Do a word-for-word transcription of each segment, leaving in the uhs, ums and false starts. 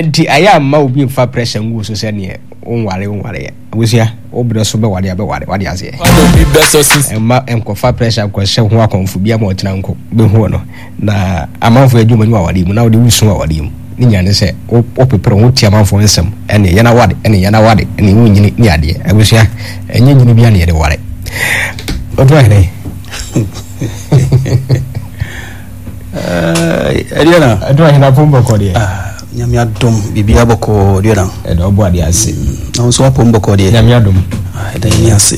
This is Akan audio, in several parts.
Nti ayɛ amma obi mfa pressure ngu so sɛ neɛ wonware wonware yɛ. Abusua, wo berɛ so bɛware a bɛware, wade aseɛ. Ɛmma nkɔfa pressure nkɔhyɛ ho akɔmfo bi ama ɔkyena nko bɛhu no. Na amanfoɔ adwuma mu awadeɛ mu na wode wosu awadeɛ mu. Ne nyinaa ne sɛ wopepere ho tie amanfoɔ nsɛm ɛne yɛn awade ɛne yɛn awade ɛne wonyini ne adeɛ. Abusua, ɛnyɛ nyini bia ne yɛde ware. Ɔto ahene. Ɛdeɛ na ɛto ahene apom bɔkɔ deɛ. Nyame adom biribiara bɔkɔɔ deɛ na. Ɛda ɔbɔ adeɛ ase. Na wo nso wapom bɔkɔɔ deɛ. Nyame adom. Ɛda nyame ase.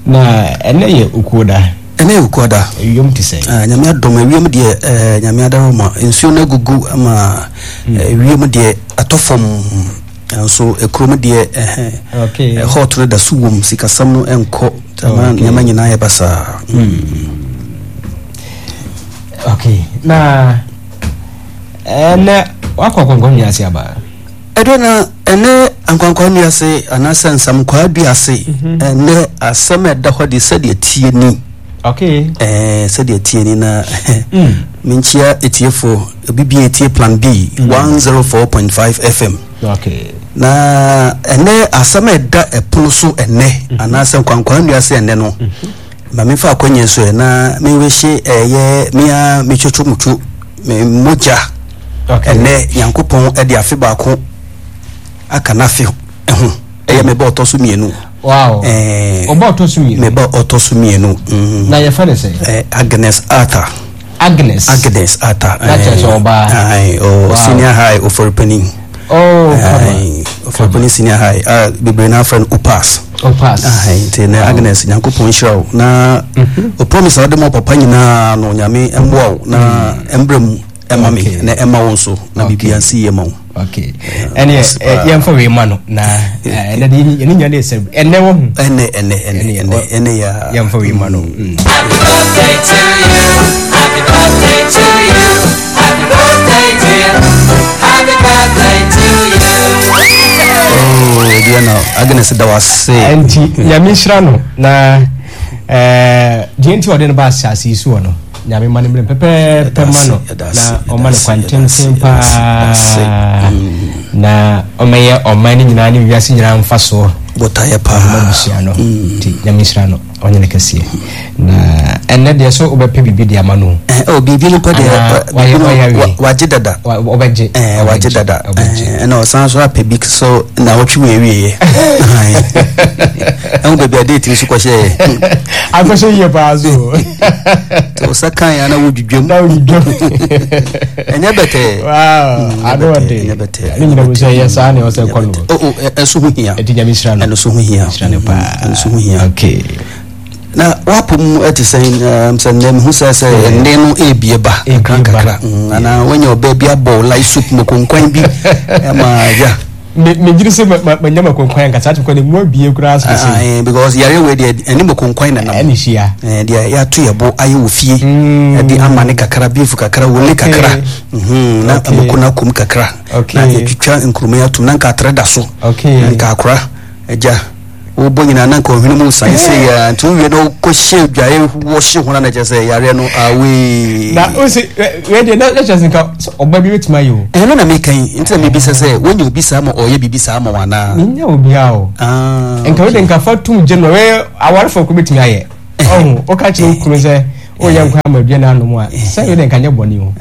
Na ɛnɛ yɛ okuo da. Ɛnɛ yɛ okuo da. Ewiem te sɛ. Nyame adom ewiem deɛ nyame adaro ma nsuo no agugu ama ewiem deɛ atɔ fam. Nso ekurom deɛ ɛhɛn hot no da so wom, sikasɛm no nkɔ ama nneɛma nyinaa yɛ basaa. Okay, na ɛnɛ wakɔ akwankwa nnua ase aba. Ɛdɔ na ɛnɛ akwankwa nnua ase anaasɛ nsamkwaa dua ase ɛnɛ asɛm a ɛda hɔ de sɛdeɛ tie ni. Okay. Ɛɛ sɛdeɛ tie ni na menkyia etiefo obi bi etie Plan B one zero four point five F M. Okay. Na ɛnɛ asɛm a ɛda ɛpono so ɛnɛ anaasɛ nkwankwa nnua ase ɛnɛ no ma memfa akɔnyɛ so ɛ na mewehye ɛyɛ mea metwotwo mutwo me mogya ɛnɛ Nyankopɔn ɛde afe baako aka n'afe ho ɛyɛ me ba ɔtɔ so mmienu. Wow. Ɔba ɔtɔ so mmienu. Me ba ɔtɔ so mmienu. Na yɛfrɛ no sɛ? Agnes Arthur. Agnes. Agnes Arthur. Na kyerɛ sɛ ɔbaa. Ayi o senior high Oforipani. Oh, kama. Oforipani senior high. Ah, bebree na afrɛ no Opas. Opas. Ayi nti na Agnes Nyankopɔn nhyira wo na o promise a wode ma papa nyinaa no Nyame mmoa wo na mbrɛ mu ɛma me na ɛma wo nso na biribiara nsi yie ma wo. Okay. Ɛne yɛmfa wei ma no na ɛnɛ de yɛne nya ne sɛ ɛnɛ wɔ ho. Ɛnɛ ɛnɛ ɛnɛ ɛnɛ ɛnɛ ya. Yɛmfa wei ma no. Happy birthday to you. Happy birthday to you. Happy birthday dear. Happy birthday to you. Oh, dear na Agnes da wase. Enti Nyame nhyira no na eh deɛ nti ɔde no ba asase yi so no. Nyame ma no mmerɛ pɛpɛɛpɛ ma no na ɔma no kwan tenten paa na ɔmɛyɛ ɔman no nyinaa ne wiase nyinaa mfa soɔ botaeɛ paa ɔma busua no nti Nyame nhyira no ɔnyɛ no kɛseɛ na ɛnnɛ deɛ so wobɛpɛ biribi de ama no. Oh, biribi no pɛ deɛ wagye dada ɔbɛgye wagye dada ɛna ɔsan so apɛ bi so na ɔtwe wɔ awieɛ ɛho baabi a date so kɔhyɛɛ akɔhyɛ yie paa so nti wo sɛ kan ya na wodwidwam na wodwidwam ɛnyɛ bɛtɛɛ ano ɔde ɛnyɛ bɛtɛɛ ne nyina mu sɛ ɛyɛ saa ne ɔsɛ kɔ no ɛso ho hia ɛti Nyame hyira no ɛno so ho hia hyira no paa ɛno so ho hia okay. Na wapo mu ɛte sɛ sɛ nnɛ mehu sɛ sɛ ɛnne no ɛrebie ba kakra kakra anaa woanya ɔbaa bi abɔ light soup makonkwan bi ɛma ya megyere sɛ manya makonkwan ankasa ate kwan mu abie koraa so sɛ because yare wei deɛ ɛne makonkwan na nam ɛne hyia deɛ yɛato yɛ bo ayɛ wɔ fie ɛde ama ne kakra beef kakra wole kakra na mako no akom kakra na yɛtwitwa nkuruma atom na nka atrɛ da so na nka akora agya wobɔ nyinaa na nka ɔhwene mu san sɛ yɛ nti wowie na wokɔhyɛ dwaeɛ wɔhye ho no na kyerɛ sɛ yareɛ no awee na wose wei deɛ na kyerɛ sɛ nka ɔba bi bɛtumi ayɛ o ɛno na meka yi nti na mebisa sɛ woanya obi saa ma ɔyɛ biribi saa ma wo anaa menya obiaa o nka wode nka fa tom gye no wei awarefoɔ ko bɛtumi ayɛ ɔho woka kyerɛ wo kunu sɛ woyɛ nkwa ama aduane anom a sɛ wei deɛ nka nyɛ bɔne o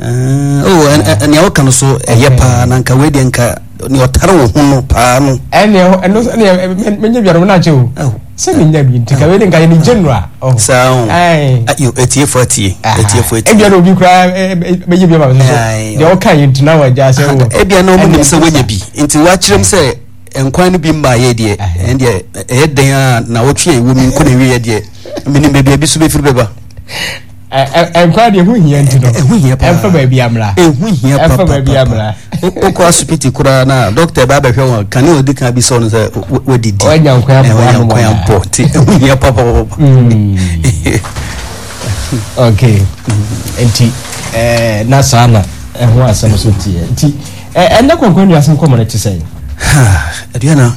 oh nea woka no so ɛyɛ paa na nka wei deɛ nka ni ɔtare wo ho no paa no. Ɛnna ɛno ɛnna menya bi anum n'akyɛ o. Sɛ menya bi nti ka wei de nka yɛ ne general. Saa o. Ayo etiefo atie etiefo atie. Ebia na obi koraa bɛyɛ bi ama mi so deɛ ɔka yɛ nti na wagya sɛ o. Ebia na ɔmo nim sɛ wɔnya bi nti wakyerɛ mu sɛ nkwan no bi mmaa yɛ deɛ ɛn deɛ ɛyɛ den a na wɔtwe a ɛwɔ mi nko na ɛwie yɛ deɛ menim baabi a bi so bɛfiri bɛba. Nkwa deɛ ɛho hia nti no ɛho hia paa ɛmfa baabi amra ɛho hia paa ɛmfa baabi amra wokɔ asopiti koraa na dɔkta ɛba abɛhwɛ wɔn kane ɔdi kan bi sɛ ɔno sɛ wadidi ɔnya nkwan abɔ ɔnya nkwan abɔ nti ɛho hia papapapa. Okay, nti ɛɛ na saa na ɛho asɛm so teɛ nti ɛnɛ kɔnkɔn nua asɛm kɔmɔ no te sɛ. Aduana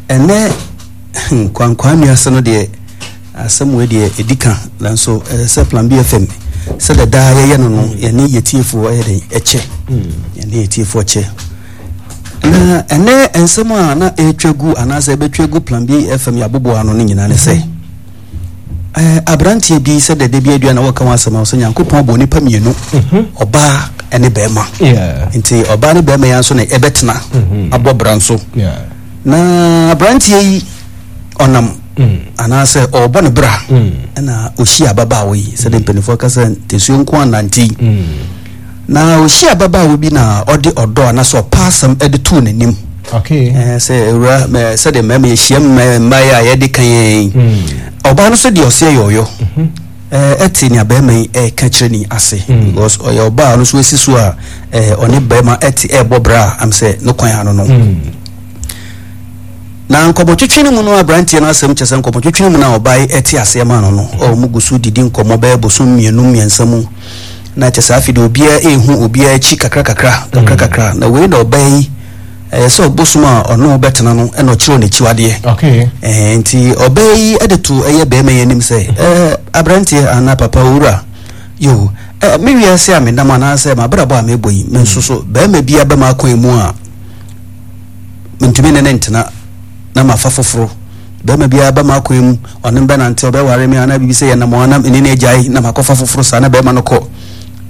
ɛnɛ kwankwan nua asɛm no deɛ. Asɛm wei deɛ ɛdi ka nanso ɛsɛ sɛ Plan B F M Sɛdeɛ daa yɛyɛ no no, yɛne yɛtiefoɔ ɛyɛ den ɛkyɛ, yɛne yɛtiefoɔ kyɛ. Na ɛnɛ nsɛm a na ɛretwa gu anaasɛ ɛbɛtwa gu Plan B F M yɛaboboa ano no nyinaa ne sɛ eh, aberanteɛ bi, sɛ dɛdɛ bi adua na wɔka ho asɛm a sɛ Nyankopɔn bɔ nipa mmienu, ɔbaa ne bɛrima. Yeah. Nti ɔbaa ne bɛrima yi nso na ɛbɛtena abɔ bra nso. Yeah. Na aberanteɛ yi ɔnam anaasɛ ɔrebɔ ne bra ɛna ɔhyia ababaawa yi, sɛde mpanimfoɔ ka sɛ ntɛsuo nko anante yi. Na ɔhyia ababaawa bi na ɔde ɔdɔ anaasɛ ɔpa asɛm de too n'anim. Okay. Eh, sɛ ewura mɛ sɛde mmarima yɛhyia mma mmaa yi a yɛde kan yɛn yi, ɔbaa no so deɛ ɔseɛ yɛ ɔyɔ ɛɛ ɛte nea bɛrima yi ɛɛka kyerɛ ni ase, because ɔyɛ ɔbaa no so esi so a ɛɛ ɔne bɛrima ɛte ɛɛbɔ bra am sɛ ne kwan ano no. Na nkɔmɔtwitwi no mu no, aberanteɛ no asɛm kyɛ sɛ nkɔmɔtwitwi no mu no a ɔbaa yi ɛte aseɛ ma no no, ɔmo gu so didi nkɔmɔ bɛyɛ bosom mmienu mmiɛnsa mu na kyɛ sɛ afei de obiara ehu obiara akyi kakra kakra kakra kakra. Na wei na ɔbaa yi ɛyɛ sɛ ɔbosom a ɔno bɛtena no ɛna ɔkyerɛw n'akyiwadeɛ. Okay. Ɛɛ nti ɔbaa yi ɛde to ɛyɛ bɛrima yi anim sɛ, ɛɛ aberanteɛ anaa papa owura yo, ɛɛ me wiase a menam anaasɛ m'abrabɔ a mebɔ yi, me nso so bɛrima bi aba m'akwan mu a mentumi ne ne ntena na mafa foforɔ. Bɛrima biara ba m'akwan mu, ɔne me bɛnante, ɔbɛware me anaa biribi sɛ yɛnam anam ɛne ne agyae na makɔfa foforɔ saa. Na bɛrima no kɔ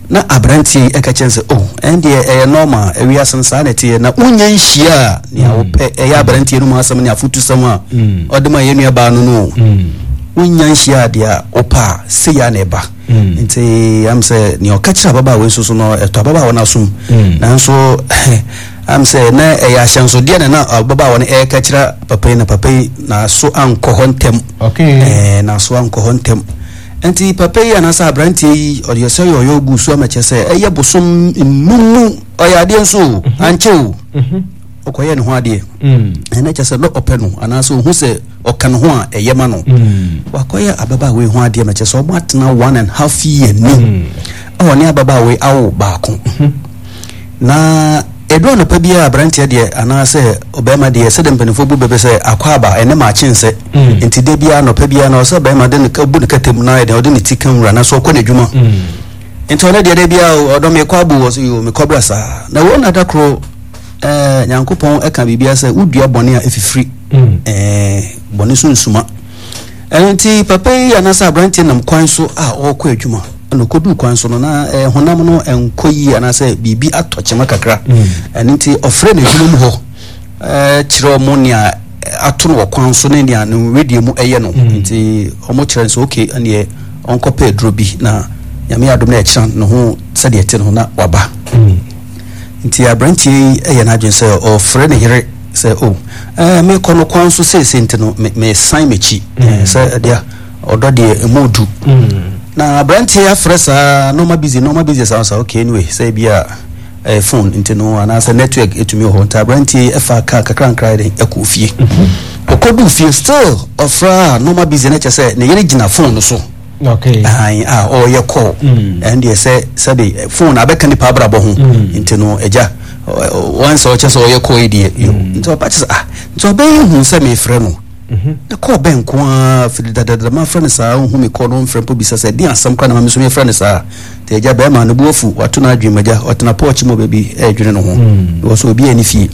na aberanteɛ yi ɛka kyɛn sɛ, oh, ɛn deɛ ɛyɛ normal, ewiase no saa na ɛteɛ na wonya nhyia a nea wopɛ. Ɛyɛ aberanteɛ no mu asɛm ne afotusɛm a ɔde ma yɛn nua baa no no wonya nhyia a deɛ wopɛ a sei a na ɛba. Nti am sɛ nea ɔka kyerɛ ababaawa yi nso so no ɛtɔ ababaawa no asom, nanso am sɛ na ɛyɛ ahyɛnsodeɛ na na ababaawa no ɛreka kyerɛ papa yi, na papa yi n'aso ankɔ hɔ ntɛm. Okay. Ɛɛ n'aso ankɔ hɔ ntɛm. Nti papa yi anaasɛ aberanteɛ yi ɔde sɛ ɔyɛ ɔyɛ ogu so ama kyerɛ sɛ ɛyɛ bosom nnum mu ɔyɛ adeɛ nso o, ankyɛ o, ɔkɔyɛ ne ho adeɛ. Ɛnɛ kyerɛ sɛ na ɔpɛ no anaasɛ ohu sɛ ɔka ne ho a ɛyɛ ma no, wakɔyɛ ababaawa yi ho adeɛ ma kyerɛ sɛ ɔmo atena one and half year ni a ɔne ababaawa yi awo baako. Na ɛdu anɔpa bi a aberanteɛ deɛ anaasɛ ɔbɛrima deɛ, sɛdeɛ mpanimfoɔ bu bɛbɛ sɛ akɔ aba ɛne maakye nsɛ, nti da biara anɔpa biara na ɔsɛ bɛrima de ne ka bu ne kɛtɛm na ɛdeɛ ɔde ne ti ka nwura na so ɔkɔ n'adwuma. Nti ɔno deɛ da biara ɔdɔ mekɔ abo wɔ so yo mekɔ bra saa. Na wɔn nada koro ɛɛ Nyankopɔn ɛka biribiara sɛ wodua bɔne a ɛfifiri, ɛɛ bɔne so nsuma. Ɛno nti papa yi anaasɛ aberanteɛ nam kwan so a ɔrekɔ adwuma, ɛna ɔkɔduu kwan so no na ɛɛ honam no ɛnkɔ yie anaasɛ biribi atɔ kyema kakra. Ɛno nti ɔfrɛ n'adwuma mu hɔ ɛɛ kyerɛ ɔmo nea ato no wɔ kwan so ne nea ne wedeɛ mu ɛyɛ no. Nti ɔmo kyerɛ no sɛ okay, ɛneɛ ɔnkɔpɛ aduro bi na Nyame adom na ɛkyerɛ ne ho sɛdeɛ ɛte no na waba. Nti aberanteɛ yi ɛyɛ n'adwene sɛ ɔfrɛ ne yere sɛ o ɛɛ mekɔ no kwan so seesei, nti no me mesan m'akyi ɛɛ sɛ ɛdeɛ ɔdɔ deɛ emu du. Na aberanteɛ afrɛ saa, normal busy, normal busy saa saa. Okay, anyway, sɛ ebi a ɛɛ phone nti no anaasɛ network etumi wɔ hɔ. Nti aberanteɛ yi ɛfa kaa kakra nkra yɛ de ɛkɔ fie. Ɔkɔdu fie, still ɔfrɛ a normal busy, na kyerɛ sɛ ne yere gyina phone no so. Okay. Ahan a ɔreyɛ call. Ɛn deɛ sɛ sɛbi phone abɛka nipa abrabɔ ho, nti no agya wɔn sɛ ɔkyɛ sɛ ɔyɛ call yi deɛ yo. Nti ɔba kyɛ sɛ ah, nti ɔbɛyɛ hu sɛ mefrɛ no na call bɛn nko ara firi dadadada ma frɛ no saa, ɔhu mi call no mfrɛ mpo bisa sɛ di asɛm kora na ma mi nso mefrɛ no saa. Nti agya bɛrima no bu afu, wato no adwene mu. Agya ɔtena porch mu baabi ɛredwene ne ho because obi ani fie.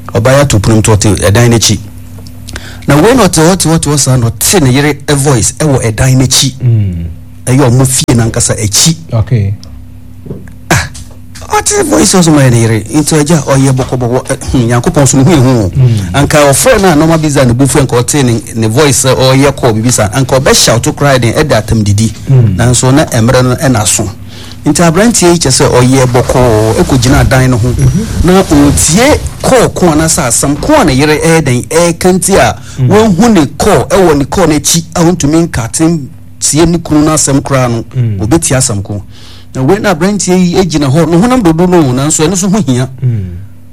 Ɔbaa yɛ ato pono mu to ɔte ɛdan n'akyi na wei na ɔte hɔ te hɔ te hɔ saa na ɔte ne yere voice ɛwɔ ɛdan n'akyi, ɛyɛ ɔmo fie nankasa akyi. Okay. Ah, ɔte voice ɔsɔ ma yɛ ne yere. Nti agya ɔyɛ bɔkɔbɔkɔ ɛ hmm Nyankopɔn so ne ho ehu o. Anka ɔfrɛ no a normal busy ne bu fɛ, nka ɔte ne ne voice sɛ ɔyɛ call bibi saa, anka ɔbɛ shout koraa den ɛde atam didi, nanso na mmerɛ no ɛna so. Nti aberanteɛ yi kyɛ sɛ ɔyɛ bɔkɔɔ ɛkɔ gyina dan no ho na ɔtie call ko anaasɛ asɛm ko a ne yere ɛyɛ den ɛɛka. Nti a wɔnhu ne call ɛwɔ ne call n'akyi a ɔntumi nkate tie ne kunu no asɛm koraa no, ɔbɛtie asɛm ko. Na wei na aberanteɛ yi gyina hɔ ne honam dodo no, nanso ɛno nso ho hia.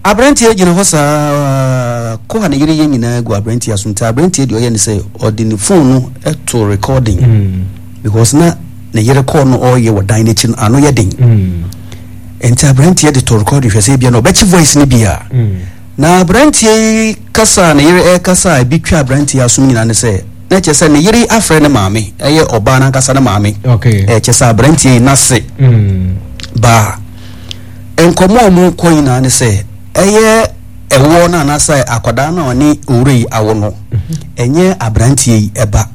Aberanteɛ gyina hɔ saa kɔ a ne yere yɛ nyinaa gu aberanteɛ aso. Nti aberanteɛ deɛ ɔyɛ ne sɛ ɔde ne phone no to recording because na ne yere kɔɔ no ɔreyɛ wɔ dan n'akyi no ano yɛ den. Nti aberanteɛ de to recording hwɛ sɛ ebia na ɔbɛkye voice no bi a. Na aberanteɛ yi kasa a ne yere ɛrekasa a ebi twa aberanteɛ asom nyinaa ne sɛ Na kyerɛ sɛ ne yere afrɛ ne maame, ɛyɛ ɔbaa n'ankasa ne maame. Okay. Ɛkyɛ sɛ aberanteɛ yi n'ase Mm. baa nkɔmɔ a ɔmo kɔ nyinaa ne sɛ ɛyɛ ɛwoɔ no anaasɛ akwadaa no a ɔne owura yi awo no, ɛnyɛ aberanteɛ yi ɛba.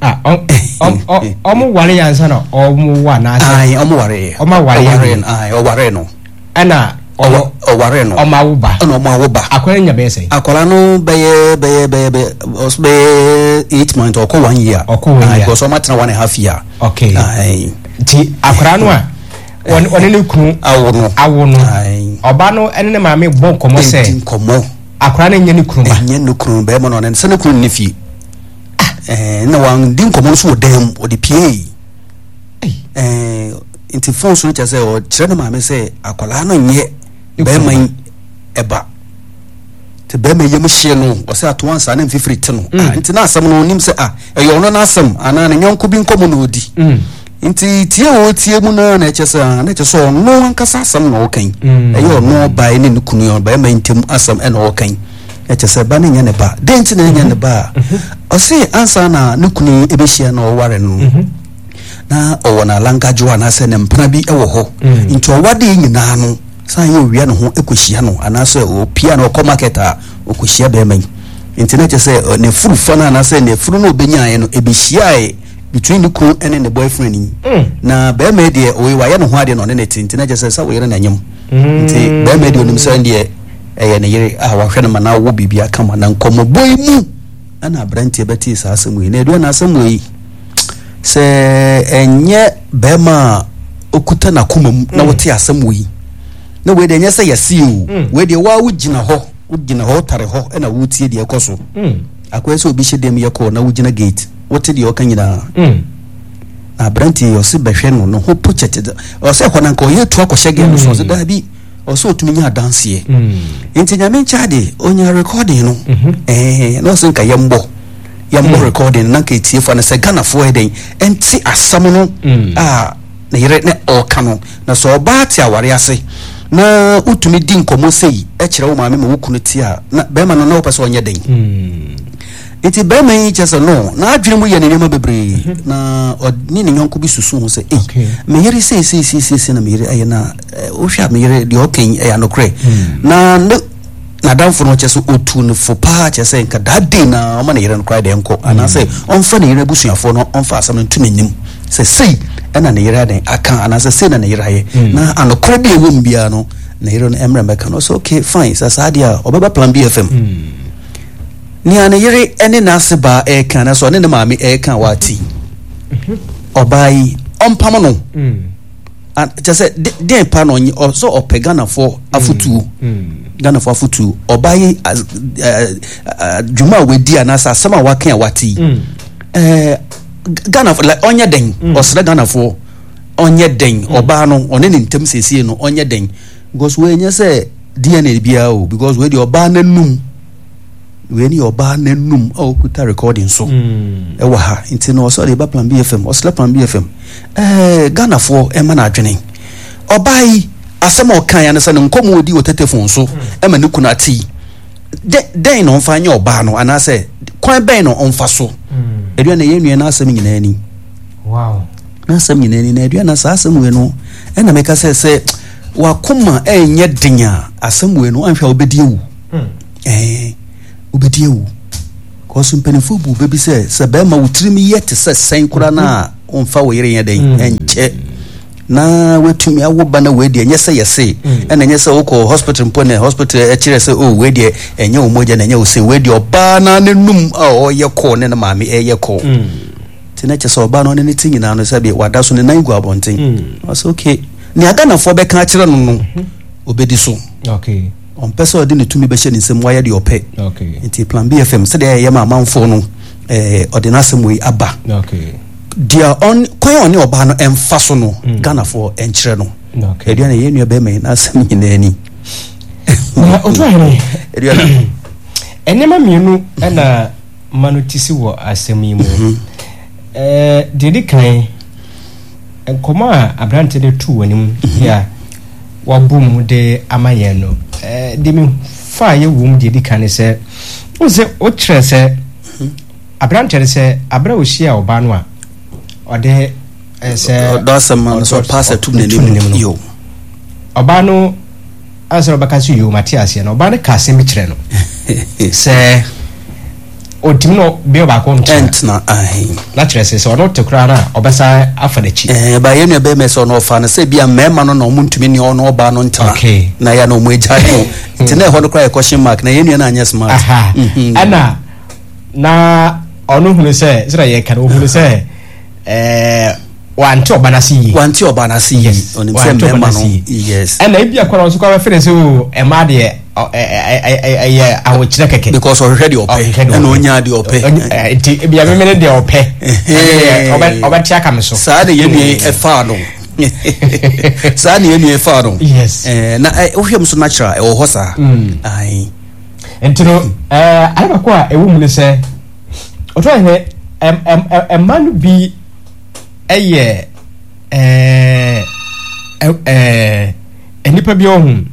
Ah, ɔm- ɔm- ɔm- ɔmo ware yɛ ansa na ɔmo wo anaasɛ? Ayi, ɔmo ware yɛ. Ɔmo aware yɛ. Ɔware no, ayi, ɔware no. Ɛna ɔmo ɔware no. Ɔmo awo ba. Ɛna ɔmo awo ba. Akwadaa no nya bɛyɛ sɛn? Akwadaa no bɛyɛ bɛyɛ bɛyɛ bɛyɛ ɔso bɛyɛ eight months, ɔkɔ one year. Ɔkɔ one Ayi, year. Because ɔmo atena one and a half year. Okay. Ayi. Nti akwadaa no a ɔne ɔne ne kunu awo no, awo no, Ayi. ɔba no ɛne ne maame bɔ nkɔmɔ Ɛdi sɛ nkɔmɔ. Akwadaa no nyɛ ne kunu ba. Ɛnyɛ ne kunu bɛrima no, ɔne sɛ ne kunu ne fie. Ɛɛ na wɔn di nkɔmɔ nso wɔ dan mu, ɔde pie. Ɛɛ nti phone so no kyerɛ sɛ ɔkyerɛ ne maame sɛ akwadaa no nyɛ bɛrima yi ɛba. Te bɛrima yam hyɛ no, ɔsɛ ato ansa ne mfifiri te no. Mm. Ah, nti na asɛm no onim sɛ ah, ɛyɛ ɔno n'asɛm anaa ne nyɔnko bi nkɔmɔ na ɔdi. Mm. Nti tie a ɔtie mu naa na ɛkyɛ sɛ ah, na ɛkyɛ sɛ ɔno ankasa asɛm na ɔka yi. Mm. Ɛyɛ ɔno ɔbaa ne ne kunu yi, ɔbarima yi ntam asɛm ɛna ɔka yi. Ɛkyɛ sɛ ba no nyɛ ne ba. Den nti na ɛnyɛ ne ba a, ɔse ansa na ne kunu yi ɛbɛhyia na ɔware no, na ɔwɔ n'alangadwo anaasɛ ne mpena bi ɛwɔ hɔ. Mm. Nti ɔwade yi nyinaa no san yɛ owia ne ho ɛkɔhyia no anaasɛ ɔpia na ɔkɔ market a, ɔkɔhyia bɛrima yi. Nti na kyerɛ sɛ ɔ, ne furu fa no anaasɛ ne furu no ɔbɛnyaeɛ no ɛbɛhyiaeɛ between ne kunu ne ne boyfriend yi. Mm. Na bɛrima yi deɛ, ɔyɛ wayɛ ne ho adeɛ na ɔne ne te. Nti na kyerɛ sɛ sɛ wɔyere n'anyam. Nti bɛrima yi deɛ, onim sɛ deɛ ɛyɛ ne yere a wahwɛ no ma na awo biribi aka ma. Na nkɔmmɔbɔ yi mu ɛna aberanteɛ bɛtee saa asɛm yi. Na aduane na asɛm wɔ yi sɛ ɛnyɛ bɛrima a okuta n'akoma mu na wɔte asɛm wɔ yi na wei deɛ, ɛnyɛ sɛ yɛse o. Mm. Wei deɛ, waa wogyina hɔ, wogyina hɔ, wotare hɔ ɛna wotie deɛ ɛkɔ so. Mm. Akɔyɛ sɛ obi hyɛ dɛm yɛ kɔɔ na wogyina gate wote deɛ ɔka nyinaa. Mm. Na aberanteɛ yi, ɔse bɛhwɛ no ne ho po kyɛkyɛ, ɔsɛ hɔ na nka ɔyɛ tu akɔhyɛ gate no so. Ɔsɛ daabi, ɔsɛ ɔtumi nya adanseɛ. Mm. Nti Nyame nkyɛ de ɔnya recording no. Mhm. Ɛɛ na ɔsɛ nka yɛmbɔ yɛmbɔ recording na nka etiefoɔ no sɛ Ghanafoɔ yɛ dɛn ɛnte asɛm no Mm. a ne yere ne ɔɔka no. Na sɛ ɔbaa te aware ase na wotumi di nkɔmmɔ sei ɛkyerɛ wo maame ma wo kunu te a, na bɛrima no na wopɛ sɛ ɔnyɛ dɛn? Mm. Nti bɛrima yi kyerɛ sɛ no n'adwene mu yɛ ne nneɛma bebree na ɔne ne nyɔnko bi susu ho sɛ, ei, Okay. me yere sei sei sei sei sei na me yere ɛyɛ na ɛ, wohwɛ a me yere deɛ ɔka yi ɛyɛ anokorɛ. Na ne n'adamfo no kyerɛ sɛ ɔtu ne fo paa, kyerɛ sɛ nka that day na ɔma ne yere no koraa deɛ nkɔ anaasɛ ɔmfa ne yere abusuafoɔ no ɔmfa asɛm no nto n'anim sɛ sei ɛna ne yere adan aka anaasɛ sei na ne yere ayɛ, na anokorɛ bi a ɛwɔ mu biara no ne yere no mmerɛ mbɛka no. Ɔsɛ okay, fine, sɛ saa deɛ a ɔbɛba Plan B F M. Nea ne yere ne n'ase baa ɛreka na sɛ ɔne ne maame ɛreka a wate, ɔbaa yi ɔmpam no. Mm. A- kyerɛ sɛ de- deɛn pa na ɔnyɛ ɔsɛ ɔpɛ Ghanafoɔ afotuo. Mm. Ghanafoɔ afotuo, ɔbaa yi as- ɛɛ, ɛɛ, dwuma a wadi anaasɛ asɛm a waka a wate yi, Mm. ɛɛ, Ghanafoɔ like ɔnyɛ dɛn? Ɔsrɛ Ghanafoɔ, ɔnyɛ dɛn? Ɔbaa no ɔne ne ntam siesie no, ɔnyɛ dɛn? Because wɔnyɛ sɛ D N A biara o, because wei deɛ, ɔbaa n'anum, wei ne yɛ ɔbaa n'anum a ɔkuta recording so Mm. ɛwɔ ha. Nti no ɔsɛ ɔde ba Plan B F M, ɔsrɛ Plan B F M, ɛɛ Ghanafoɔ ɛma no adwene. Ɔbaa yi asɛm a ɔka ya no sɛ ne nkɔmɔ odi wɔ telephone so ɛma ne kunu ate yi, dɛ dɛn na ɔmfa nyɛ ɔbaa no anaasɛ kwan bɛn na ɔmfa so? Mm. Aduane, yɛn nua n'asɛm nyinaa ni. Wow. N'asɛm nyinaa ni. Na aduane, saa asɛm wei no ɛna meka sɛ sɛ wakoma ɛnyɛ den a, asɛm wei no anhwɛ a wobɛdi awu. Mm. Ɛɛ wobɛdi awu kɔso mpanimfoɔ bu bɛbi sɛ sɛ bɛrima wo tirim yɛ te sɛ sɛn koraa no a, ɔmfa wo yere nyɛ dɛn Mm. ɛnkyɛ na watumi awo ba. Na wei deɛ, ɛnyɛ sɛ yɛse Mm. ɛna ɛnyɛ sɛ wokɔ hospital mpo ne hospital ɛkyerɛ sɛ o, wei deɛ ɛnyɛ wo mogya na ɛnyɛ wo sɛ wei deɛ, ɔbaa na n'anum a ɔyɛ kɔɔ ne ne maame ɛyɛ kɔɔ. Mm. Nti na kyerɛ sɛ ɔbaa no ɔne ne ti nyinaa no sɛbi wada so ne nan gu abɔnten. Mm. Ɔsɛ okay, nea Ghanafoɔ bɛka akyerɛ no no obɛdi so. Okay. Ɔmpɛ sɛ ɔde ne tumi bɛhyɛ ne nsam wayɛ deɛ ɔpɛ. Okay. Nti Plan B F M, sɛdeɛ ɛyɛ ma amanfoɔ no, ɛɛ ɔde n'asɛm wei aba. Okay. Deɛ ɔn kwan a ɔne ɔbaa no ɛmfa so no, Mm. Ghanafoɔ ɛnkyerɛ no. Okay. Aduane, yɛn nua bɛrima yi n'asɛm nyinaa ni. Na otu ahene, Aduane. Nneɛma mmienu ɛna ma no ti si wɔ asɛm yi mu. Ɛɛ deɛ di kan, nkɔmɔ a aberante de to wɔ anim yi a wabɔ mu de ama yɛn no, ɛɛ deɛ mi fa yɛ wɔ mu deɛ di kan ne sɛ, o sɛ o kyerɛ sɛ Aberanteɛ no sɛ aberɛ a ɔhyia ɔbaa no a ɔde sɛ ɔdɔ asɛm ma no sɛ ɔpa asɛ tum n'anim no, yo. Ɔbaa no ansa na ɔbɛka sɛ yo mate aseɛ no, ɔbaa no ka asɛm bi kyerɛ no sɛ ɔntumi no bea ɔbaako ntena, na kyerɛ sɛ sɛ ɔno te koraa no a ɔbɛsan afa n'akyi. Ɛɛ ba yɛn nua bɛrima sɛ ɔno ɔfa no sɛ bi a mmarima no na ɔmo ntumi ne ɔno ɔbaa no ntena, na yɛ na ɔmo agya no, nti na ɛhɔ no koraa yɛ question mark, na yɛn nua no anyɛ smart. Ɛna na ɔno hunu sɛ sɛdeɛ yɛka no, ɔhunu sɛ ɛɛ wante ɔba n'ase yie. Wante ɔba n'ase yie, ɔnim sɛ mmarima no, yes. Ɛna ebi akɔrɔ nso kɔ abɛfɛ sɛ o ɛmaa deɛ ɛyɛ ahokyerɛ kɛkɛ. Because ɔhwehwɛ deɛ ɔpɛ, ɛna ɔnya deɛ ɔpɛ. Nti ebi amemene deɛ ɔpɛ, ɔbɛte aka me so. Saa na yɛn nua ɛfaa no, saa na yɛn nua ɛfaa no. Yes. Ɛɛ na wohwɛ mu so natural ɛwɔ hɔ saa. Ayi. Nti no ɛɛ ade baako a ɛwɔ mu ne sɛ ɔtɔ yɛ ɛm ɛmma no bi ɛyɛ ɛɛ ɛɛ nnipa bi ɔho.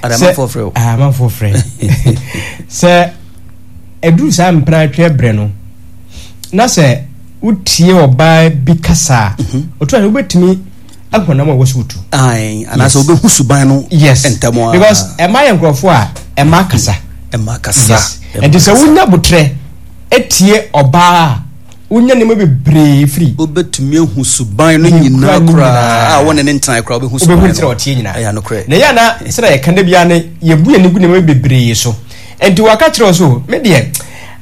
Amanfoɔ frɛ o. Amanfoɔ frɛ sɛ ɛduru saa mpena atwa brɛ no na sɛ wotie ɔbaa bi kasa a, ɔtɔ yɛ wobɛtumi ahu nam a ɛwɔ so wotu. Anaasɛ wobɛhu suban no. Yes. Ntɛm a. Because ɛma yɛ nkurɔfoɔ a ɛma kasa. Ɛma kasa. Yes. Nti sɛ wonya botrɛ etie ɔbaa a, wonya nneɛma bebree firi. Wobɛtumi ahu suban no nyinaa koraa a wɔne ne ntena koraa, wobɛhu suban no. Wobɛhu sɛ ɔteɛ nyinaa. Ɛyɛ nokorɛ. Na yɛ ana sɛdeɛ yɛka da biara no, yɛbu yɛn ani gu nneɛma bebree so. Nti waka kyerɛ wo so, me deɛ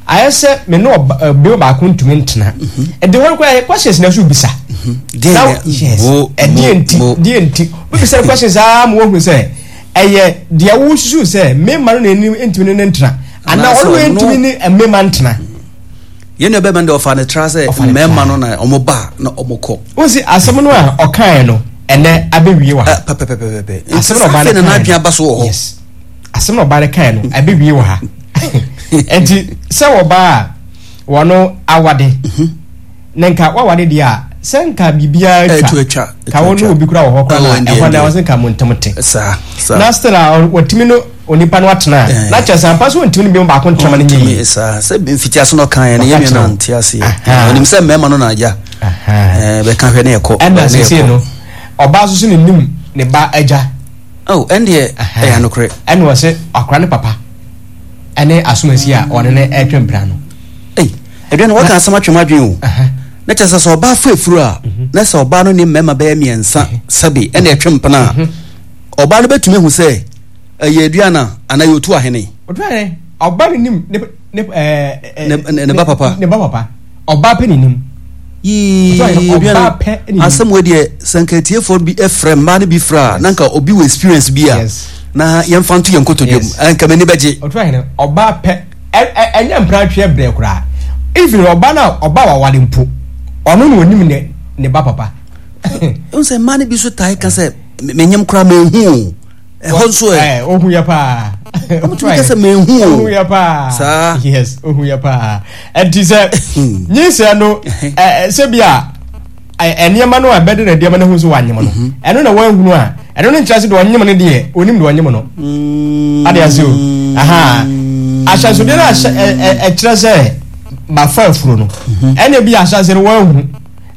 ayɛ sɛ me ne ɔbea baako ntumi ntena. Nti hɔ koraa questions na so bisa. Deɛ ɛdeɛ nti deɛ nti wobisa questions aa ma woahu sɛ ɛyɛ deɛ wosusu sɛ mmarima no na anim ntumi ne ne ntena anaa ɔno wɔ ntumi ne mmarima ntena. Yɛn nua bɛrima no deɛ ɔfa ne tra sɛ mmarima no na ɔmo ba na ɔmo kɔ. O si asɛm no a ɔkaeɛ no ɛnɛ abɛwie wɔ ha. Pɛpɛpɛpɛpɛ. Asɛm na ɔbaa no kaeɛ no aba so wɔ hɔ. Yes. Asɛm na ɔbaa no kaeɛ no abɛwie wɔ ha. Nti sɛ ɔbaa a wɔno awade na nka wawade deɛ a sɛ nka biribiara twa ka wɔn ne obi kura wɔ hɔ koraa na ɛhɔ na wɔsɛ nka mo ntam te. Na still a wɔtumi no onipa no atena a na kyerɛ sɛ ampa so wɔntumi no bi mu baako ntena ma no nyɛ yie. Saa sɛ mfiti ase no ɔka yɛn no yɛn nua no ante aseɛ, ɔnim sɛ mmarima no na agya bɛka hwɛ ne ɛkɔ. Ɛna sese no ɔbaa nso so ne nim ne ba agya. Oh, ɛndeɛ ɛyɛ anokorɛ. Ɛna ɔsɛ akora ne papa ɛne asomasi a ɔne ne ɛtwe mpira no. Ei, aduane waka asɛm atwem adwene o. Na kyerɛ sɛ sɛ ɔbaa fa afuru a, na sɛ ɔbaa no ne mmarima bɛyɛ mmiɛnsa sɛbe ɛna ɛtwe mpena a, ɔbaa no bɛtumi ahu sɛ ɛyɛ aduane a anaa yɛ otu ahene. Otu ahene, ɔbaa no nim ne ne ɛɛ ne ba papa. Ne ba papa, ɔbaa pɛ ne nim. Yii, aduane asɛm wei deɛ sɛ nka atiefoɔ bi frɛ mmaa no bi frɛ a, na nka obi wɔ experience bi a na yɛmfa nto yɛn nkotodwe mu, nka m'ani bɛgye. Otu ahene, ɔbaa pɛ ɛnyɛ mpratweɛ brɛ koraa, even ɔbaa no a ɔbaa wawale mpo ɔno na onim ne ne ba papa. N sɛ mmaa no bi so tae ka sɛ menyem koraa menhu o, ɛhɔ nso ɛ. Ohu yɛ paa. Ɔmotumi ka sɛ menhu o. Ohu yɛ paa. Saa. Yes, ohu yɛ paa. Ɛnti sɛ nyinsɛn no sɛ bi a nneɛma no a ɛbɛde na nneɛma no ho so wanyem no, ɛno na wanhunu a, ɛno no nkyerɛ sɛ deɛ ɔnyem no deɛ onim deɛ ɔnyem no. Ade ase o. Aha. Ahyɛnsodeɛ no ahyɛ ɛkyerɛ sɛ mafa afuro no, ɛna bi ahyɛnsodeɛ no wanhu,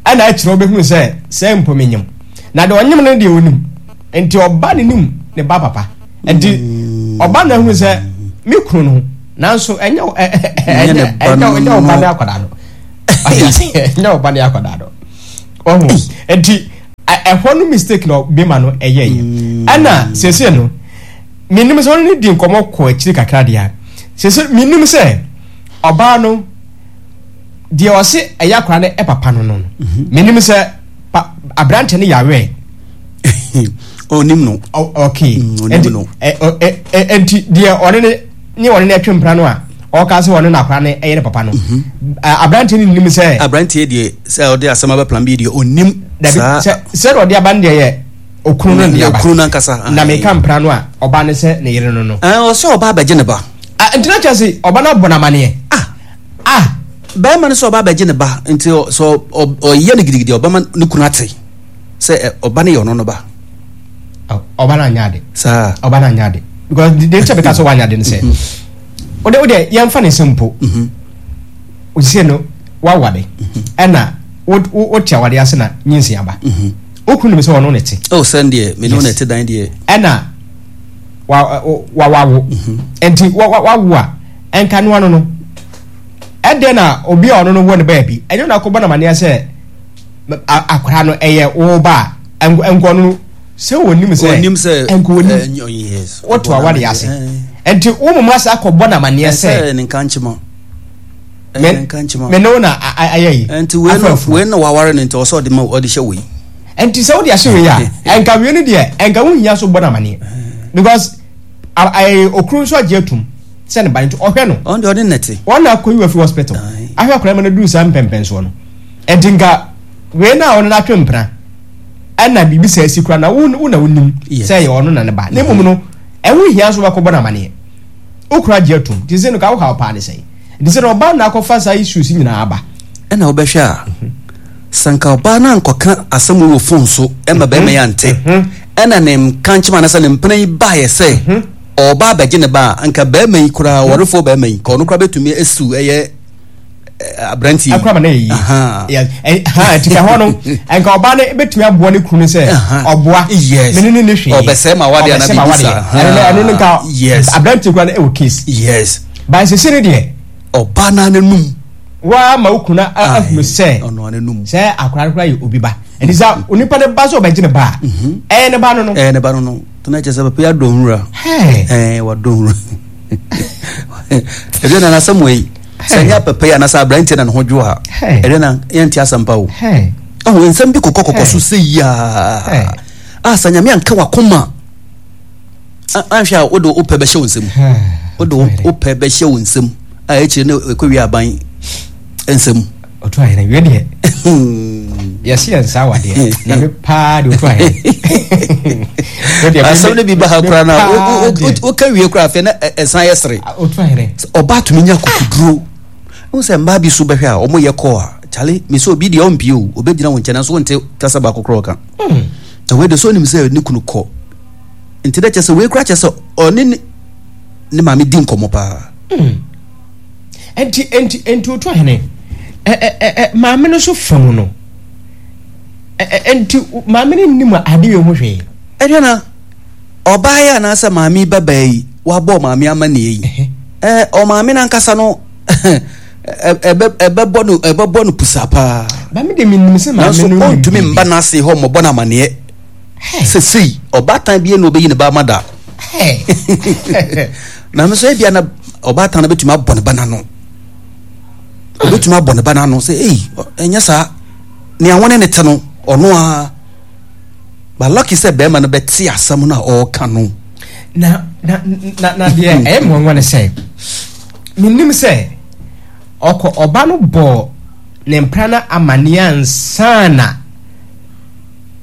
ɛna akyerɛ wobɛhunu sɛ sɛ mpo menyem. Na deɛ ɔnyem no deɛ onim. Nti ɔba ne nim ne ba papa. Nti ɔba na ehunu sɛ me kunu no, nanso ɛnyɛ ɛnyɛ ɛnyɛ ɔba ne akwadaa no. Ɛnyɛ ɔba ne akwadaa no. Ɔho nti ɛhɔ no mistake na bema no ɛyɛ yɛ. Ɛna sese no menim sɛ ɔne ne di nkɔmɔ kɔ akyiri kakra deɛ a, sese menim sɛ ɔbaa no deɛ ɔse ɛyɛ akwadaa no ɛpapa no no, menim sɛ pa aberante no yawɛ. Ɔnim no. Okay. Ɔnim no. Nti deɛ ɔne ne ne ɔne ne ɛtwe mpena no a ɔka sɛ ɔne n'akora no ɛyɛ ne papa no, aberante no nim sɛ. Aberante deɛ sɛ ɔde asɛm aba plan bi deɛ ɔnim. Dabi, sɛ sɛ ɔde aba no deɛ yɛ okunu no de aba. Okunu no ankasa. Na meka mpena no a ɔba no sɛ ne yere no no. Ɔsɛ ɔba abɛgye ne ba. Nti na kyerɛ sɛ ɔba no abɔ no amaneɛ. Ah. Ah. Bɛrima no sɛ ɔba abɛgye ne ba, nti sɛ ɔyɛ no gidigidi ɔbɛma ne kunu ate sɛ ɔba no yɛ ɔno no ba. Ɔba no anyɛ ade. Saa. Ɔba no anyɛ ade. Because deɛ nkyɛn bɛka sɛ wanyɛ ade no sɛ, wode wode yɛmfa ne sɛ mpo, Osie no waware ɛna wote aware ase na nyinsi aba. Okunu nim sɛ ɔno ne te. Oh, sɛn deɛ me ne wo na ɛte dan deɛ. Ɛna wa wa wawo. Nti wa wa wawo a ɛnka no ano no. Ɛdɛn na obi a ɔno no wɔ ne baabi ɛnyɛ na akɔbɔ n'amaneɛ sɛ akwaraa no ɛyɛ wo ba a nkɔ no sɛ wɔnim sɛ onim sɛ nkɔ onim woto aware ase nti wo moma sɛ akɔbɔ n'amaneɛ sɛ ne nka nkyema me ne wo na ayɛ yi nti wei no wei na waware no nti ɔsɛ ɔde ma ɔde hyɛ wei nti sɛ wode ahyɛ wei a ɛnka wei no deɛ ɛnka wo hia so bɔ n'amaneɛ because okuru nso agye atum sɛ ne ba nti ɔhwɛ no ɔno deɛ ɔde nɛte wɔn na akɔyi wafi hospital ahwɛ akwadaa ma no duru saa mpɛmpɛnsoɔ no nti nka wei na ɔno n'atwe mpena ɛna biribi sɛ asi kura na wo na wonim sɛ ɛyɛ ɔno na ne ba na mmom no ɛho hia so bɛkɔbɔ n'amaneɛ okura agye atum nti sɛ no ka wo haw paa ne sɛn nti sɛ na ɔbaa na akɔfa saa issues nyinaa aba ɛna wobɛhwɛ a sɛ nka ɔbaa no ankɔka asɛm wɔ phone so ɛma bɛrima yɛ ante ɛna ne nka nkyɛm anasɛ ne mpena yi baeɛ sɛ ɔba abɛgye ne ba a nka bɛrima yi koraa wɔrefoɔ bɛrima yi ka ɔno koraa bɛtumi asiw ɛyɛ aberante yi akora ma na yɛ yie nti ka hɔ no nka ɔbaa no bɛtumi aboa ne kunu sɛ ɔboa mene ne ne hwee ɔbɛsɛe ma wadeɛ ana biribi saa ɛno no nka aberante koraa no ɛwɔ case yes ba nsese no deɛ ɔbaa no ananum waa ma wo kunu ahunu sɛ sɛ akora no koraa yɛ obi ba ɛnti sɛ onipa no ba sɛ ɔbɛgye ne ba a ɛyɛ ne ba no no ɛyɛ ne ba no no tena kyɛ sɛ papa yi adɔ nwura ɛɛ wadɔ nwura ɛdeɛ na n'asɛm wɔ yi sɛ nyɛ papa yi anasɛ aberanteɛ na ne ho dwo a ɛdeɛ na yɛnte asɛm pa o ɔho nsɛm bi kɔkɔ kɔkɔ so sɛ yiaa a sɛ Nyame anka wakoma anhwɛ a wode wopɛ bɛhyɛ wo nsam wode wopɛ bɛhyɛ wo nsam a akyire no ɛkɔwie aban nsam ɔto ahene wie deɛ yɛse yɛn nsa awadeɛ na me paa de ɔto ahene asɛm no bi ba ha koraa no a woka wie koraa afei na ɛsan yɛ sere ɔbaa tumi nya kokoduro wohu sɛ mmaa bi so bɛhwɛ a ɔmoyɛ kɔɔ a kyale me sɛ obi deɛ ɔmpie o ɔbɛgyina wo nkyɛn nanso wonte kasa baako koraa ɔka na wei de sɛ ɔnim sɛ ne kunu kɔ nti dɛ kyɛ sɛ wei koraa kyɛ sɛ ɔne ne maame di nkɔmmɔ paa. Nti nti nti otu ahene ɛ ɛ ɛ maame no so fam no ɛ ɛ nti maame no nim ade yɛ ho hwee. Ɛdeɛ na ɔbaa yi anaasɛ maame ba baa yi wabɔ maame amanneɛ yi ɛ ɔmaame no ankasa no ɛbɛ ɛbɛbɔ no ɛbɛbɔ no pusa paa. Maame de mi nim sɛ maame no nim. Nanso ɔntumi mba n'ase hɔ mmɔbɔ no amanneɛ. Sesei ɔbaatan bi na ɔbɛyi ne ba ama da. Na me nso ebia na ɔbaatan no bɛtumi abɔ ne ba n'ano. Ɔbɛtumi abɔ ne ba n'ano sɛ ei ɛnyɛ saa nea wɔne ne te no ɔno a but lucky sɛ bɛrima no bɛte asɛm no a ɔreka no. Na na na na deɛ ɛyɛ mmoanwa ne sɛ menim sɛ ɔkɔ ɔba no bɔ ne mpra no amanneɛ ansa na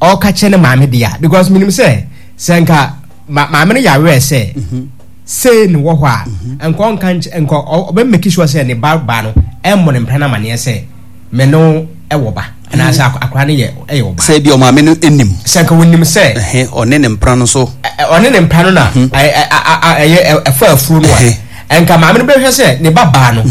ɔka kyerɛ ne maame deɛ a because menim sɛ sɛ nka ma maame no yɛ sɛ mhm. sei ne wɔ hɔ a mhm. nka ɔnka nka ɔbɛ make sure sɛ ne ba ba no ɛmmɔ ne mpra no amanneɛ sɛ me no ɛwɔ ba anaasɛ mhm. akora no yɛ ɛyɛ ɔba. Sɛ ebi ɔmaame no anim. Sɛ nka wɔnim sɛ. Ɔne ne mpra no so. Ɔne ne mpra no na ɛyɛ ɛfɔ afuro no a nka maame no bɛhwɛ sɛ ne ba baa no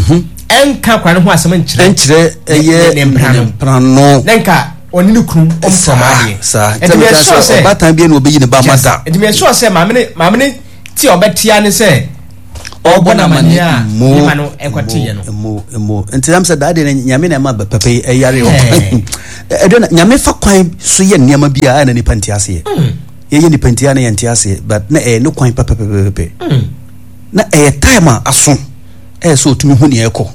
ɛnka akora no ho asɛm nkyerɛ. Nkyerɛ ɛyɛ ne mpra no. Ne nka ɔne ne kunu ɔmfam adeɛ. Saa nti mi sure sɛ ɔbaatan bi na ɔbɛyi ne ba ma da. Nti mi sure sɛ maame ne maame ne ti a ɔbɛtia ne sɛ ɔbɔ n'amaneɛ a ne ma no ɛkɔte yɛ no. Mo mo nti nam sɛ daa deɛ nyame na ɛma papa yi ɛyare wɔ ɛdɛ na nyame fa kwan so yɛ nneɛma bi a ɛna nipa nte aseɛ yɛyɛ nipa nte a na yɛnte aseɛ but na ɛyɛ ne kwan pɛpɛpɛpɛpɛ na ɛyɛ time a aso ɛyɛ sɛ ɔtumi hu nea ɛkɔ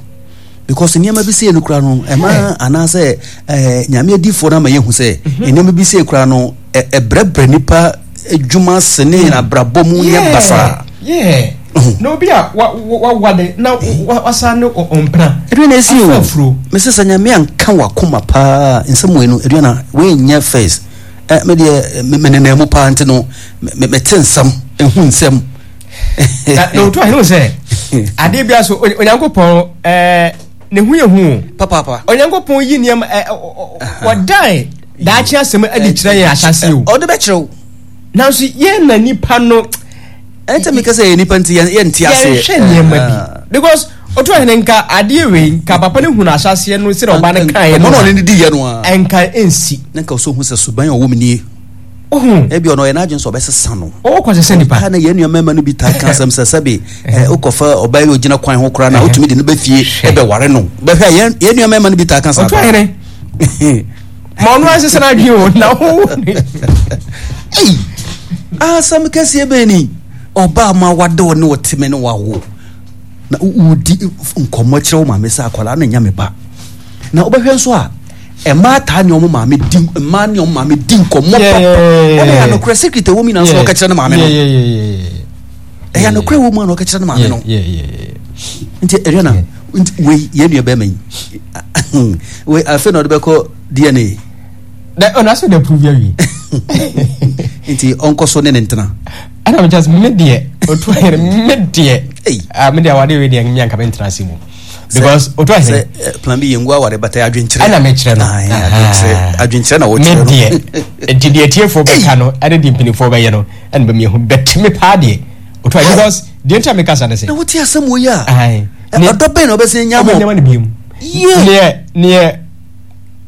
because nneɛma bi sei no kura no ɛma anaasɛ ɛɛ nyame adiifoɔ no ama yɛhu sɛ nneɛma bi sei kura no ɛbrɛbrɛ nipa adwuma sene mm. abrabɔ mu nyɛ basaa. Na obi a wawale na wasa ne ɔmpena. Aduane esi o mese sɛ nyame anka wakoma paa nsɛm wei no aduane wei nyɛ first ɛ me deɛ menenam mu paa nti no mete nsɛm ehu nsɛm. Na na otu ahene sɛ adeɛ bi aso Onyankopɔn ɛɛ ne ho yɛ hu. Papaapa. Onyankopɔn yi nneɛma ɛ wɔdan daakye asɛm adi kyerɛ yɛn ahyase o. Ɔde bɛkyerɛ wo. Nanso yɛn na nipa no. Ɛnkyɛ mi kasa yɛ nipa nti yɛn yɛn ti aseɛ. Yɛn hwɛ nneɛma bi because Otu ahene, nka adeɛ wei, nka papa no hunu ahyɛseɛ no sɛdeɛ ɔba no kaeɛ no. Ɔno ɔne ne di yɛ no a. Ɛnka ɛnsi. Ne nka ɔsɛ ohun sɛ suban a ɔwɔ mu nie. Ohun. Ebi ɔno ɔyɛ n'adwene sɛ ɔbɛsesa no. Ɔwɔ sɛ nipa. Ha na yɛn nua mmarima no bi taa ka asɛm sɛ, sɛbi, ɛ wokɔfa ɔbaa yi ogyina kwan ho koraa na wotumi de no bɛ fie ɛbɛware no. Bɛhwɛ a, yɛn yɛn nua mmarima no bi taa ka saa. Otu ahene, ma ɔno asesa n'adwene o na wo. Ei, asɛm kɛseɛ bɛn ni? Ɔbaa ma wade wo ne ɔteme ne wawo na wodi nkɔmmɔ kyerɛ wo maame sɛ akwadaa no nyɛ me ba, na wobɛhwɛ nso a, mmaa taa ne ɔmo maame di, mmaa ne ɔmo maame di nkɔmmɔ papa. Ɛna yɛ anokorɛ secret ɛwɔ mu nyinaa nso ɔka kyerɛ ne maame no. Ɛyɛ anokorɛ wɔ mu a na ɔka kyerɛ ne maame no. Nti ɛdua nti wei, yɛn nua bɛrima yi wei, afei na ɔde bɛkɔ D N A. Na ɔno asɛ de prove awie. Nti ɔnkɔ so ne ne ntena. Ɛna mekyɛ sɛ me deɛ, otu ahene, me deɛ, ah, me deɛ, awade wei deɛ, me anka mentena ase mu because otu ahene sɛ eh, plan bi yɛ ngu aware bata adwenkyerɛ. Ɛna mekyerɛ no. Aye, adwenkyerɛ, adwenkyerɛ na wɔkyerɛ me no. Deɛ, nti deɛ tiefoɔ bɛka no ɛne deɛ mpanimfoɔ bɛyɛ no ɛna bɛmiɛhu bɛtumi paa deɛ, otu ahene, because deɛ nti a mekasa ne sɛ na wote asɛm wɔ yi a, ae, ɛ, ɔdɔ bɛn na ɔbɛsɛn nya ɔbɛnyama mo no biom. Yie. Neɛ neɛ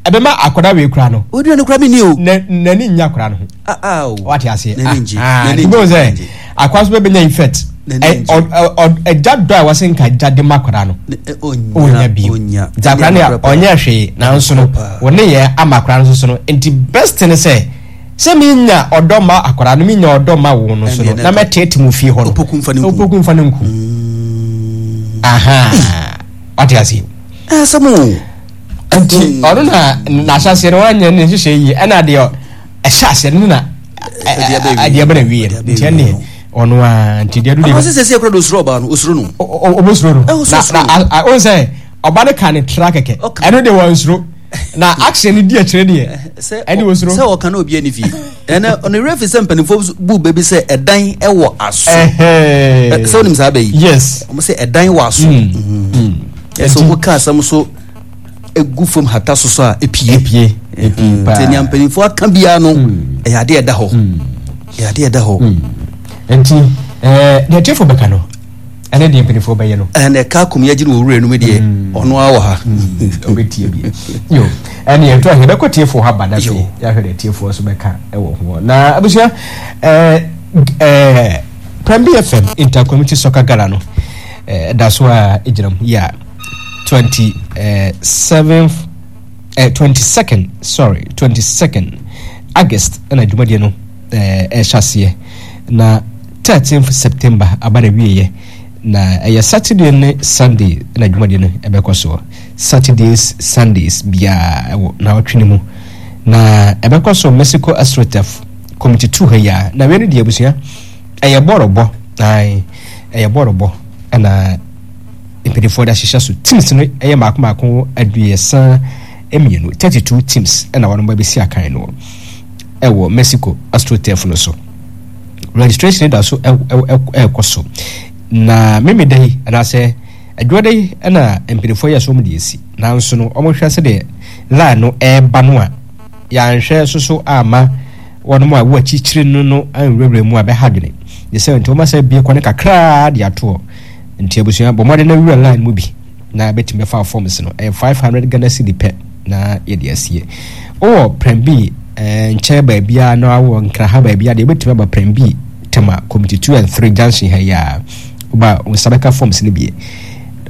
ɛbɛma akwadaa wei kora no, odua no kora mi ni o. na n'ani nya akwadaa no ho. Ah, ah, o. Wate aseɛ? N'ani ngye. Ah, N'ani nti bɛhu ngye, sɛ n'ani ngye. akwadaa nso bɛbɛnya effect. N'ani Ɛ- ngye. ɔ- ɔ- ɔ- ɛgya dɔ a wɔsɛ nka gya de ma akwadaa no, Ne- ɛ, ɔnya ɔnya bio. Ɔnya. Nti akwadaa no yɛ ɔnyɛ hwee, nanso no Paa. wɔne yɛ ama akwadaa no nso so no. Nti best ne sɛ sɛ menya ɔdɔ ma akwadaa no, menya ɔdɔ ma wo no so no, ɛndeɛ na na mɛtete mu fie hɔ no. Opoku mfa ne nku. Opoku mfa ne nku. Aha, wate aseɛ? Asɛm o. Nti ɔno na n'ahyɛseɛ no wanyɛ ne nhyehyɛ yie, ɛna deɛ ɛhyɛ aseɛ no na ɛdeɛ bɛ wie. Ɛdeɛ bɛ na wie. Ɛdeɛ bɛ nti wie ɛneɛ no. Ɔno a, nti deɛ do ɔno deɛ sɛ sɛ sɛ kora de osuro ɔbaa no, osuro no. Ɔbɛsuro no. Ɛ, ɔsuro na suro. Na a- ɔn sɛ ɔba no ka ne tra kɛkɛ. Ɔka. Ɛno deɛ wɔnsuro, na action no di akyire deɛ sɛ ɛne wɔsuro. Sɛ ɔka na obi ani fie, ɛnɛ ɔne werɛ fi sɛ mpanimfoɔ bu baabi sɛ ɛdan ɛwɔ aso. Ɛhɛn. Ɛ, sɛ wonim saa bɛ yi? Yes. Ɔmo sɛ ɛdan wɔ aso. Mm. Ɛsɛ ɔmo ka asɛm so egu fam hata so so a, epie. Epie, epie paa. Nti nea mpanimfoɔ aka biara no, ɛyɛ adeɛ ɛda hɔ, ɛyɛ adeɛ ɛda hɔ. Nti ɛɛ deɛ tiefo bɛka no ɛne deɛ mpanimfoɔ bɛyɛ no. Ɛna ɛka akom yɛgye no wɔ wura no mu deɛ, ɔno ara wɔ ha. Ɔbɛtie bi yo. Ɛne yɛto ahɛ bɛkɔ tiefoɔ ha ba na afei Yo. yɛahwɛ deɛ tiefoɔ so bɛka ɛwɔ ho. Na abusua, ɛɛ ɛɛ Prem B F M Intercommunity Soccer Gala no ɛɛ ɛda so a ɛgyina mu yɛ a twenty seventh, eh, twenty second, sorry, twenty second August ɛna dwumadie no ɛɛ ɛhyɛ aseɛ, na thirteenth September aba na wieɛ. Na ɛyɛ Saturday ne Sunday ɛna dwumadie no ɛbɛkɔ soɔ, Saturdays, Sundays biara ɛwɔ naawɔtwe no mu, na ɛbɛkɔ so Mexico AstroTurf Community two ha yi a. Na wei no deɛ, abusua, ɛyɛ bɔɔlobɔ. Ae, ɛyɛ bɔɔlobɔ ɛna mpanimfoɔ de ahyehyɛ so. Teams no ɛyɛ mako mako aduasa mmienu, thirty two teams, ɛna wɔn ba bɛsi akan no ɛwɔ Mexico AstroTurf no so. Registration da so ɛrekɔ so, na memeda yi anaasɛ adwuada yi ɛna mpanimfoɔ yɛ so wɔn de esi, nanso no wɔhwɛ sɛdeɛ line no ɛreba no a, yɛanhwɛ soso ama wɔn a wɔ akyirikyiri no no anwurawura mu a bɛha dwene de sɛ. Nti wɔn asɛ bie kwan kakraa de atoɔ. Nti abusua, bɔ mmɔden na wura line mu bi na bɛtumi bɛfa forms no. Ɛyɛ five hundred Ghana cedi pɛ na yɛde asie. Wowɔ Prɛmbi ɛɛ nkyɛn baabiara na wowɔ Nkraha baabiara deɛ, wobɛtumi aba Prɛmbi Tema Community two and three junction ha yi a, woba wo nsa bɛka forms no bie.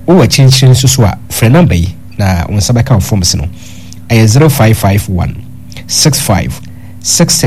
Wowɔ akyirikyiri nso so a, frɛ number yi na wo nsa bɛka wo forms no. Ɛyɛ zero five five one six five six six.